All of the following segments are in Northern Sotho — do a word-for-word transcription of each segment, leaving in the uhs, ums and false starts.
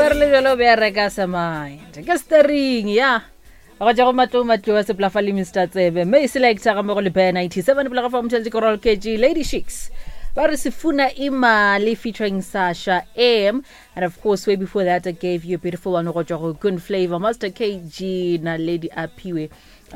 Re le bjalo be a reka sa mind ke stering ya go tša go matlou matlou a seplafa le Mr Tsebe mme e selecta ga mogo le bear ninety-seven pele ga fa motšheletše ke roll K G Lady Shicks ba re Sifuna Imali featuring Sasha M. And of course, way before that, I gave you a beautiful one go tšwa go Good Flavor, Master K G na Lady Aphiwe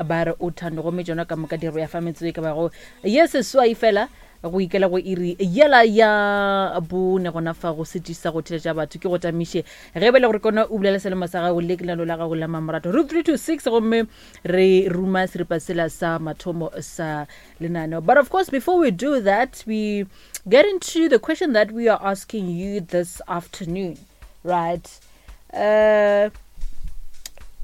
ba re Uthando. Gomme tšona ka moka diro ya fa metsotso e ka bago ye seswai fela go ikela go iri yela ya bone gona fa go setši sa go theletša batho. Ke go tamiše ge be le gore kona o bulela selemo sa gago le lenalo la gago la mamorato root three two six, gomme re ruma seripa sela sa mathomo sa lenaneo. But of course, before we do that, we get into the question that we are asking you this afternoon, right? uh,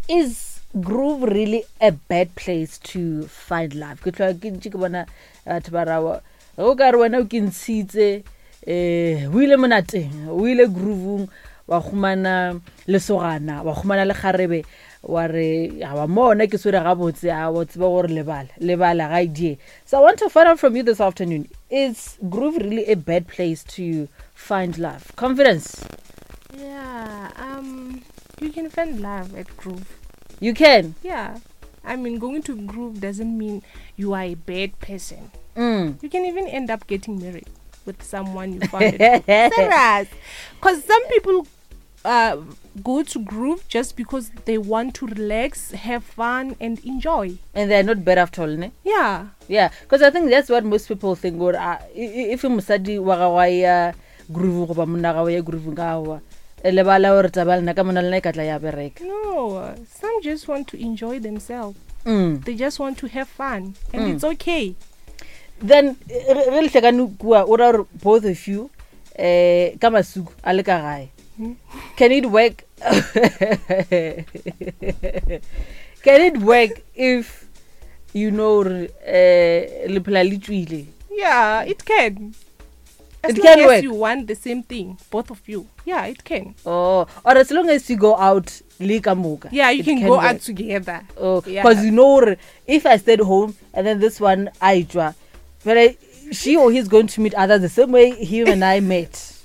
is Groove really a bad place to find love? Ke tloga ke ntše ke bona batho ba rawa ge o ka re wena o ke ntshitse um o ile monateng, o ile groovong, wa humana lesogana, wa humana le kgarebe, wa re awa mona ke swere gabotse, a wa tseba gore lebala lebala ga idie. So I want to find out from you this afternoon, is Groove really a bad place to find love? Confidence. Yeah, um, you can find love at Groove. You can? Yeah. I mean, going to Groove doesn't mean you are a bad person. mm. You can even end up getting married with someone you found at Groove. Serious. Because some people uh, go to Groove just because they want to relax, have fun, and enjoy. And they're not bad after all, ne? Yeah. Yeah, because I think that's what most people think, gore uh, if mosadi wa gago a ya groove goba monna gago ya groove ka aowa lebala gore taba lena ka mona lena e ka tla ya bereka. No, some just want to enjoy themselves. mm. They just want to have fun, and Mm. it's okay. Then ge ge le hlekane kua, o ra gore both of you um ka masuku a le ka gae. Mm. Can it work? Can it work if you know gore um le phela le tswile? Yeah, it can. As It long can as work. You want the same thing, both of you. Yeah, it can. Oh, or as long as you go out le ka moka. Yeah, you It can go work. out together. Oh, Yeah. because you know gore if I stayed home and then this one I tšwa, but I, she or he's going to meet others the same way him and I met.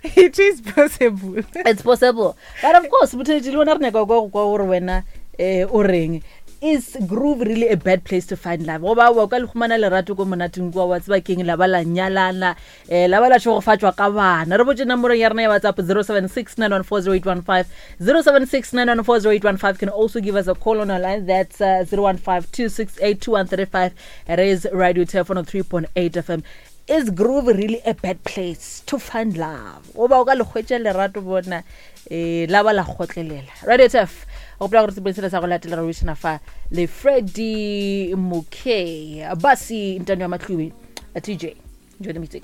It is possible. It's possible. But of course, motho le wena re nyaka go kwa gore wena eh o reng. Is Groove really a bad place to find love, goba wa ka le humana lerato ko monateng kua, wa tseba keng, la ba la nyalana, um la ba la tšhogofatšwa ka bana? Re botse nomorong ya rena ya WhatsApp zero seven six nine one four zero eight one five, zero seven six nine one four zero eight one five. Can also give us a call on our line, that's uh, zero one five two six eight two one three five. It is Radio Turf one oh three point eight F M. Is Groove really a bad place to find love, goba o ka le hwetša lerato bona um la ba la kgotlelela? Radio Turf, gopola gore sepodisela sa go latela re buisana fa le Freddy Mokay Basi Ntano ya Matlubi T J. Enjoy the music.